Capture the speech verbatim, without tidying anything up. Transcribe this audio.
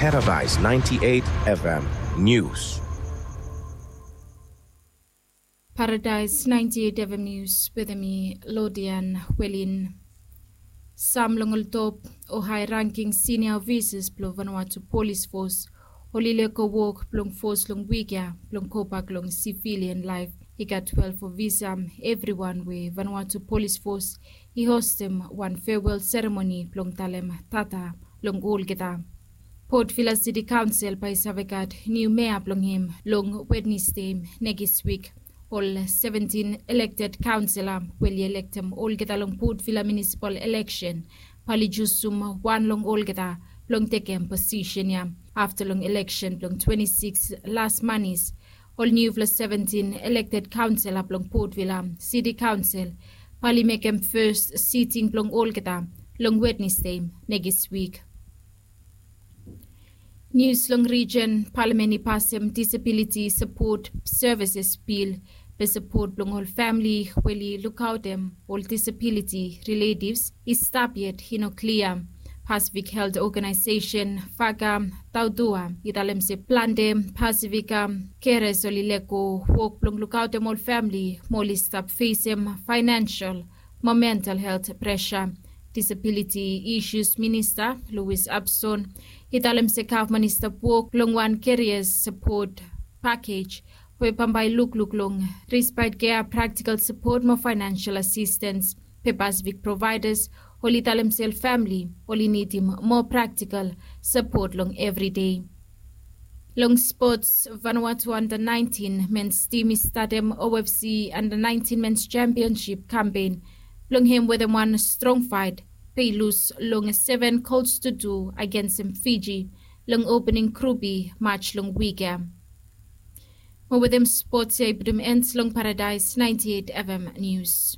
Paradise ninety-eight F M News. Paradise ninety-eight F M News, wetem mi Lodian Welin. Sam long ol top o high ranking senior officers blong Vanuatu Police Force oli lego wok blong force long wik ya blong go bak long civilian life. I gat twelve officer, evriwan we Vanuatu Police Force i hostem wan farewell ceremony blong talem tata long olgeta. Port Vila City Council bae i save gat niu mea blong hem long Wednesday nekis wik. Ol seventeen elected councillor we oli elektem olgeta long Port Vila municipal election bae oli jusum wan long olgeta blong tekem posisen ya. Afta long election blong twenty-six las manis, ol niufala seventeen elected councillor blong Port Vila City Council bae oli mekem first sitting blong olgeta long Wednesday nekis wik. Nius long region, palamen i pasem disability support services bill. Be sapot blong ol famili we oli lukaotem ol disability relatives i stap yet i no klia. Pacific Health Organization Faga Daudua i talem se plante Pacific keres oli lego wok blong lukaotem ol famili mo oli stap fesem financial mo mental health pressure. Disability Issues Minista Louis Abson i talem se gavman i stap wok long wan career support package we bambae i lukluk long respite care, practical support mo financial assistance. Pe Pacific providers oli talem se ol famili oli nidim moa practical support long everyday. Long sports, Vanuatu under nineteen men's team i statem O F C under nineteen men's championship campaign blong hem wetem wan strong fight, pe i lus long seven goals to two agensem Fiji long opening group E match long wik ya. Mo wetem sports ya i putum end long Paradise ninety-eight F M News.